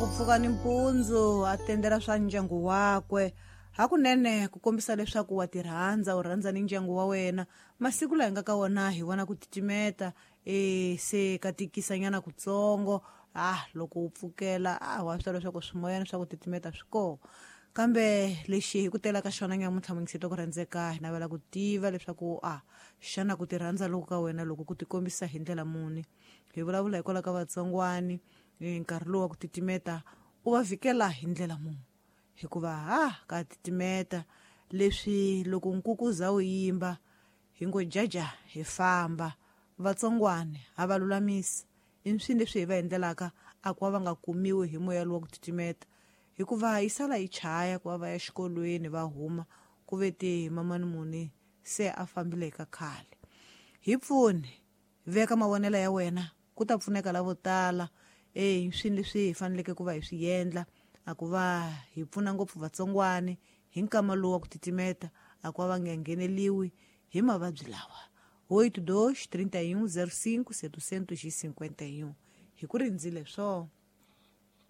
Ku pfuka nimpundzu a tendela swa ndyangu wakwe hakunene ku kombisa leswaku wa ti rhandza, u rhandza ni ndyangu wa wena. Masiku laha hi nga ka wona hi vona ku titimeta, e se ka tikisanyana kutsongo. Loko u pfukela wa swi tiva leswaku swimoyana swa ku titimeta swi kona. Kambe lexi hi ku tela ka xona nyamuntlha muyingiseti ku rhandzeka, hi navela ku tiva leswaku xana ku ti rhandza loku ka wena loko ku tikombisa hi ndlela muni. Hi vulavula hikwalaho ka vatsongwani, nkarhi lowu wa ku titimeta u va vhikela hi ndlela muni, hikuva ka titimeta leswi loko nkukuza wu yimba hi ngo jaja hi famba. Vatsongwani ha va lulamisa i swini leswi hi va endlelaka a ku va va nga kumiwi hi moya lowu wa ku titimeta, hikuva yi sala yi chaya ku va va ya xikolweni va huma ku ve te mamani muni se a fambile ka khale. Hi pfuni, veka mavonelo ya wena, ku ta pfuneka lavo tala. Swini leswi hi faneleke ku va hi swi endla a ku va hi pfuna ngopfu vatsongwani hi nkama lowu wa ku titimeta, a ku va va nga ngheneliwi hi mavabyi lawa. 82 31 05 751 hi ku rindzile swo.